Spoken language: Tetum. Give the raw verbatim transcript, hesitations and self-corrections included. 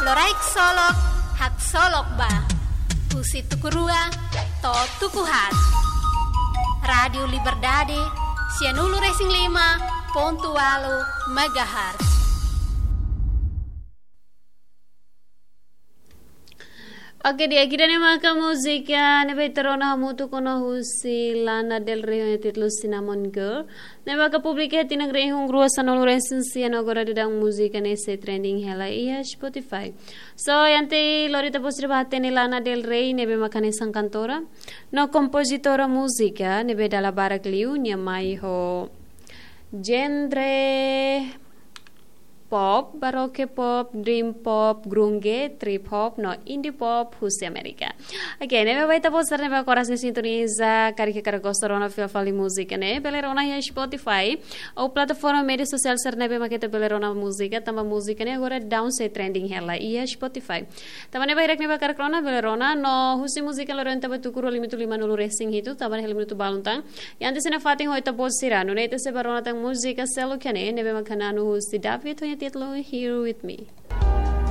Loraik Solok, Haksolok Ba. Husi tuku rua to'o tuku haat. Rádiu Liberdade, sianulu-resin-lima pontu ualu megahertz. Oke, di'ak, ida-ne'e maka múzika ne'ebé ita rona hamutuk ona husi Lana Del Rey ho nia títulu Cinnamon Girl. Ne'ebé maka publika iha tinan rihun rua sanulu-resin-sia no agora daudaun múzika ne'e sei trending hela iha Spotify. So, entaun lori ita-boot sira bá hatene Lana Del Rey ne'ebé maka hanesan kantora no kompozitora múzika ne'ebé dala barak liu nia mai ho genre pop, baroque pop, dream pop, grunge, trip hop no indie pop husi Amérika. Oke, ne'ebé ba ita-boot sira ne'ebé agora sei sintoniza, karik hakarak gosta rona fila fali múzika ne'e, bele rona iha Spotify ou plataforma média sosiál sira ne'ebé maka ita bele rona múzika, tanba múzika ne'e agora daudaun sei trending hela iha Spotify. Tanba ne'e ba hirak ne'ebé hakarak rona, bele rona, no husi múzika lorona ita bá tuku rua limitu limanulu-resin-hitu, tanba ne'e hela minutu balun tan. I antes ida nafatin ho ita-boot sira, nune'e ita sei bá rona tan múzika seluk iha ne'e, ne'ebé maka na'an husi David ho nia títulu Here With Me.